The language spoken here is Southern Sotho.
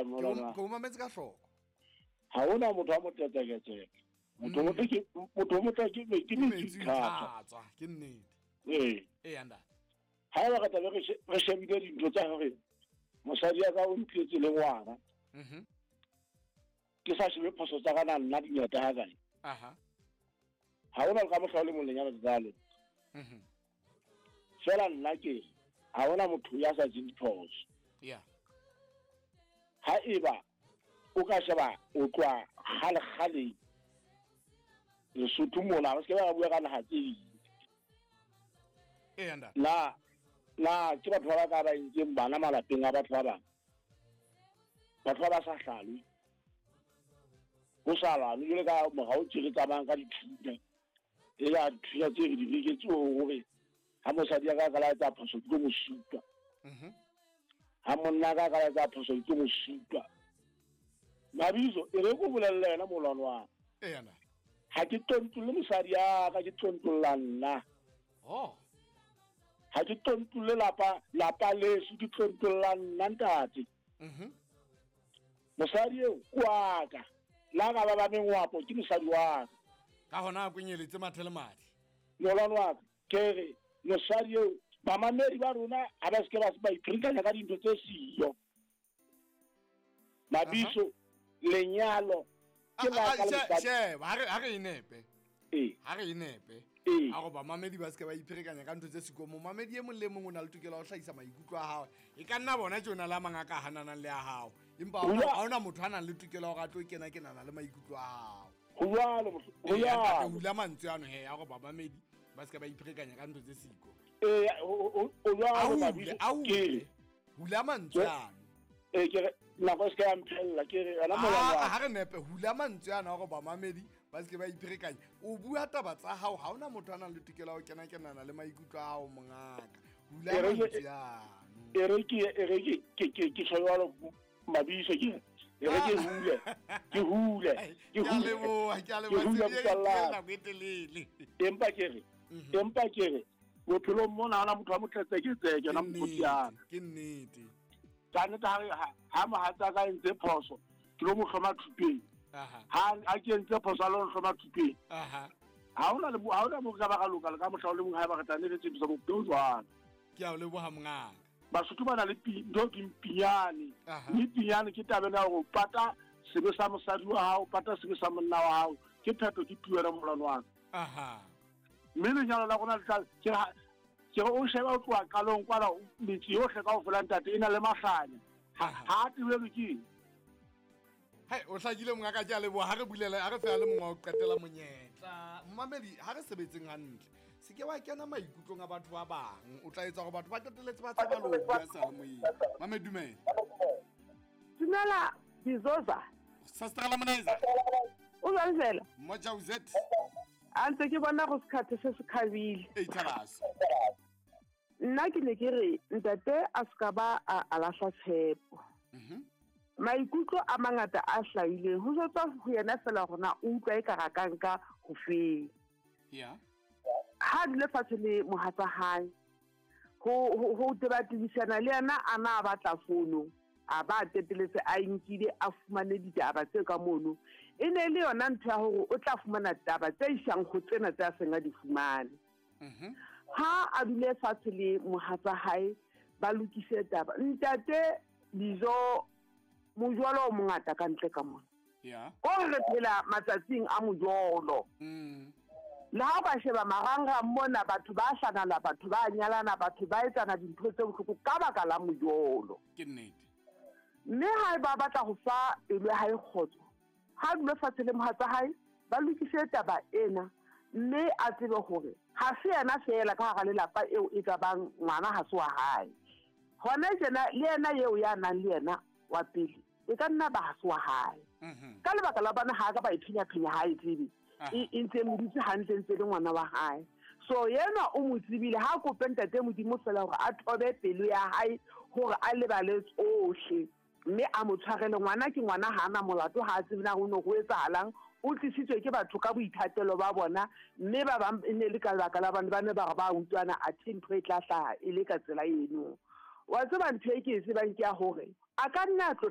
kae molwana? Ke o mametse ka hloko. Ha hona motho a motletseketseke. Motho motle ke motho motle ke ke metsi tlhatswa. Ke nnete. Ee. Ee ntate. Ha eba re tlabe re shebile dintho tsa hore mosadi ya ka o ntletse le ngwana. Mhm. Ke sa shebe phoso tsa ka na nna di ngata ha kae. Aha. Ha hona le ka mohla o le mong lenyalo le tla loka. Mhm. Fela nna ke ha hona motho ya sa jeng diphoso. Yeah. Ha eba o ka sheba o tloha kgale-kgaleng Lesotho mona, re se ke ba bua ka naha tse ding. Ee, ntate. Na ke batho ba ba ka ba entseng bana malapeng a batho ba bang? Batho ba ba sa hlalwe. Ho sa lwanwe jwale ka morao tje re tsamayang ka dithunya. E la dithunya tse re di reketse hore ha mosadi ya ka ka la etsa phoso ke tlo mo supa. Ha monna ka ka la etsa phoso ke tlo mo supa. Mabitso e re ko bolelle yena molwano wa ka. Ee, ntate. Ha ke tontole mosadi ya ka, ke tontolla nna. Oh. Ha ke tontole lapa leso, ke tontolla nna ntate. Mosadi eo ke wa ka. La ka ba ba mengwapo ke mosadi wa ka. Ka hona a kwenyeletse mathe le madi. Molwano wa ka, ke re mosadi eo bamamedi ba rona ha ba se ke ba ipherekanya ka dintho tse siyo. Mabitso, lenyalo ke la ka le mosadi. Sheba, ha re e nepe. Ee. Ha re e nepe. Ee. A go bamamedi ba se ke ba ipherekanya ka ntho tse siko. Momamedi e mong le mong o na le tokelo ya ho hlahisa maikutlo a hae. E ka nna bona tjena le a mang a ka hananang le a hao. Empa ha hona motho a nang le tokelo ya hore a tlo kena kenana le maikutlo a hao. Ho jwalo, ho Ee, jwalo. ntate, hula mantswe ano he, a go bamamedi ba se ke ba ipherekanya ka ntho tse siko. Ee, ho jwalo, A hule, Mabitso, a hule. ke. Hula mantswe ano. Ee, ke re, nako e se ke ya mphella, ke re, yona molwano wa Ha re nepe, hula mantswe ano a gore bamamedi ba se ke ba ipherekanya. O bua taba tsa hao, ha hona motho a nang le tokelo ya ho kena kenana le maikutlo a hao mongaka. Hula E re ke- mantswe ano. E re ke, e re ke, ke, ke, ke tjho jwalo, Mabitso, ke re, e re ke hule, ke hule, ke Ke a hule. leboha, ke a leboha. Ke hule Se di motswalla. e nako e telele. Empa ke re, empa ke re, bophelong mona ha hona motho a motletseketseke, yona Ke mokgotsi ya ka. nnete, ke nnete. Ka nnete ha mohatsa ka entse phoso, ke lo mo hloma thupeng. Aha. Ha ke entse phoso, a lo nhloma thupeng. Aha. Ha hona le mo, ha hona mo ka ba ka loka le ka mohla o le mong ha eba re tla ne re tsebisa bophelo jwalo. Ke a o leboha mongaka. Basotho ba na le ntho ke mpinyane. Aha. Mme pinyane ke taba ena ya hore o pata sebe sa mosadi wa hao, pata sebe sa monna wa hao. Ke phetho, ke puo ya molwano wa ka. Aha. Mme lenyalo la rona le tla, ke ha, ke re o sheba o tloha qalong kwana, metse yohle kaofela ntate e na le mahlanya. Aha. Ha a tebelwe ke eng? Hai, o hlakile mongaka, ke a leboha. Ha re bulele, ha re feela le mongwe wa ho qetela monyetla. Momamedi, ha re sebetseng hantle. Se ke wa kena maikutlong a batho ba bang. O tla etsa hore batho ba qetelletse ba tshaba le ho bua seyalemoyeng. Mamedi, dumela. Dumela, Bizoza. Sastrala Monaiza. O jwang fela? Mmoja o Z. A ntse ke bona go sekhathe se se khabile. Ei, Thabase. Nna ke ne ke re ntate a se ka ba a lahla tshepo. Maikutlo a mangata a hlahileng ho jwetsa ho yena fela hore na o utlwa e ka ra ka nka ho feng. Yeah. Ha dule fatshe le mohatsa hae, ho tebatebisana le yena a na a batla fono, a ba teteletse a nkile a fumane ditaba tse ka mono. E ne le yona ntho ya hore o tla fumana taba tse isang ho tsena tse a seng a di fumane. Ha a dule fatshe le mohatsa hae ba lokise taba. Ntate Bizo, mojolo o mongata ka ntle ka mona. Yeah. O re phela matsatsing a mojolo. Le ha o ka sheba marangrang mona, batho ba hlanala, batho ba nyalana, batho ba etsana dintho tse bohloko ka baka la mojolo. Ke nnete. Mme ha ba batla ho fa pelo ya hae kgotso, ha dule fatshe le mohatsa hae, ba lokise taba ena, mme a tsebe hore ha se yena feela ka hara lelapa eo e ka bang ngwana ha se wa hae. Hona tjena le yena eo ya nang le yena wa pele, e ka nna ba ha se wa hae. Ka lebaka la bana ha ka ba e phenya-phenya ha e tsebe. E ntse e mo dutse hantle ntse le ngwana wa hae. So yena o mo tsebile, ha kope ntate Modimo fela hore a thobe pelo ya hae hore a lebale tsohle, mme a mo tshwarele. Ngwana ke ngwana, ha ana molato, ha a tsebe na ho ne ho etsahalang. O tlisitswe ke batho ka boithatelo ba bona, mme ba bang e ne le ka lebaka la bana ba ne ba re ba utlwana, athe ntho e tla hlaha e le ka tsela eno. Wa tseba ntho e ke e tsebang ke ya hore a ka nna a tlotla